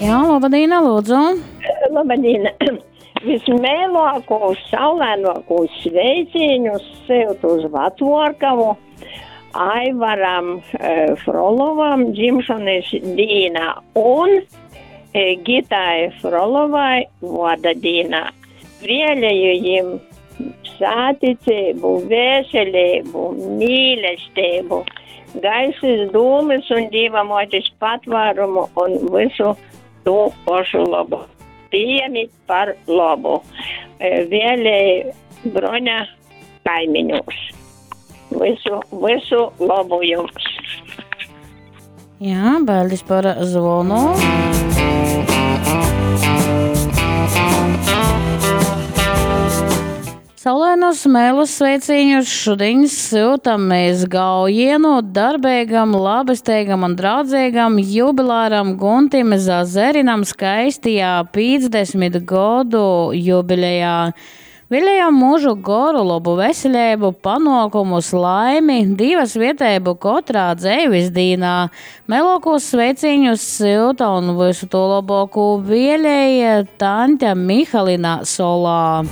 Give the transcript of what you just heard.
Jā, labadīna, lūdzu. Labadīna. Vismēlākos, saulēnākos sveicienus syutu uz Vacvuorkavu Aivaram e, Frolovam dzimšanas dīnā un e, Gitai Frolovai vārda dīnā. Vēlēju jim sāticību, veselību, mīlestību, gaisas dūmas un Dīva motis patvērumu un visu to pašu labu. Pieņemit par labu. E, Vēlēju Broņa kaimiņos. Visu, visu labu jums! Jā, paldies par zvonu. Saulainos mēlus sveiciņus šodien sūtam mēs Gaujienu darbīgam, labestīgam un draudzīgam jubilāram Guntim Zazerinam skaistajā 50 godu jubilejā. Viļējam mūžu goru, labu veselību, panākumus, laimi, divas vietēbu katrā dzēvis dīnā. Melokos sveiciņus silta un visu to labāko vēlēja Tante Mihalina Solā.